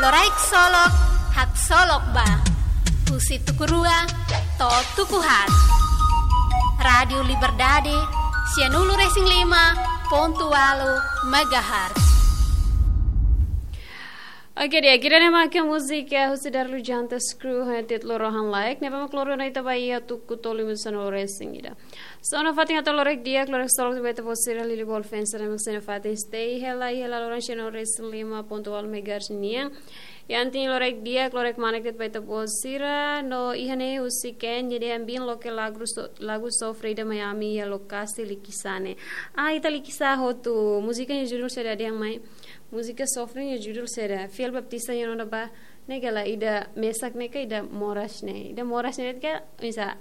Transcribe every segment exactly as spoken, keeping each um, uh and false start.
Loraik Solok, haksolok ba. Husi tuku rua to'o tuku haat. Rádiu Liberdade, sianulu-resin-lima pontu ualu megahertz. Oke, di'ak, ida-ne'e mak múzika husi Darlu Jantas Crew, ho títulu Rohan Laek, ne'ebé mak lori ona ita ba iha tuku tolu minutu sanulu-resin-ida. So, nafatin atu loraik di'ak, loraik solok ba ita-boot sira, liuliu ba ita-boot sira ne'ebé mak sei nafatin stay hela, hela loron sianulu-resin-lima pontu ualu megahertz nian. Iha nia loraik di'ak, loraik manek de'it ba ita-boot sira, no iha ne'e husik en, jadi ambin loke lagu so-, lagu sofre ida mai ami iha lokasi Likisá ne'e. Ah, ita Likisá hotu, múzika nia judul saida dehan mai? Múzika sofre nia judul saida? Fiel Baptista nia nona ba, ne'e ka lae, ida mesak ne'e ka ida moras ne'e? Ida moras ne'e ka misa.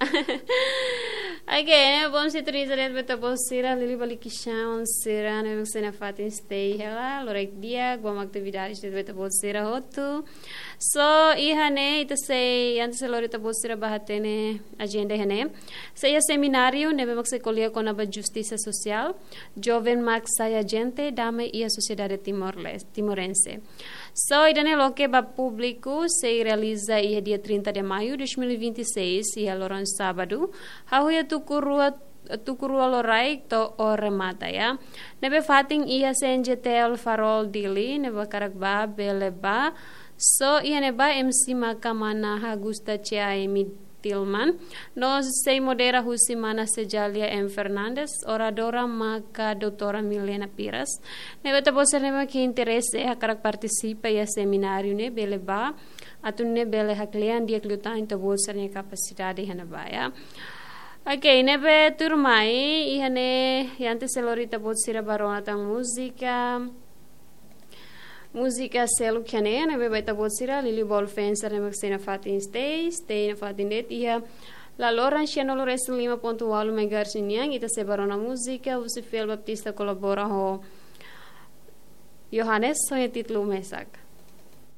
Oke, ne'e bom, sintoniza de'it ba ita-boot sira, liuliu ba Likisá sira, ne'ebé mak sei nafatin stay hela, loraik di'ak, bom atividade de'it ba ita-boot sira hotu. So, iha ne'e, ita sei, antes sei lori ita-boot sira ba hatene ajenda iha ne'e. Sei iha semináriu ne'ebé mak sei ko'alia kona-ba justisa sosiál, joven mak sai ajente dame iha sosiedade Timor-Leste, timorense. So, ida-ne'e loke ba públiku, sei realiza iha dia trinta de maio dois mil e vinte e seis, iha loron sábadu, hahú iha tuku rua, tuku rua loraik to'o remata, ya. Ne'ebé fatin iha C N J T L Farol Dili, ne'ebé hakarak ba bele ba. So, iha ne'ebá M C maka mana Augusta C A M Tilman, no sei modera husi mana Cejalia M Fernandes, oradora maka doutora Milena Piras. Ne'ebé ita-boot sira ne'ebé mak interese hakarak partisipa iha semináriu ne'e bele ba, atu nune'e bele haklean di'ak liután ita-boot sira-nia kapasidade iha ne'ebá, ya. Oke, ne'ebé tuirmai, iha ne'e, antes sei lori ita-boot sira ba rona tan múzika. Múzika seluk iha ne'e, ne'ebé ba ita-boot sira, liuliu ba ita-boot sira ne'ebé mak sei nafatin stay, stay nafatin de'it iha laloran sianulu-resin-lima pontu ualu megahertz nian, ita sei ba rona múzika husi Fiel Baptista kolabora ho Johannes, ho títulu mesak.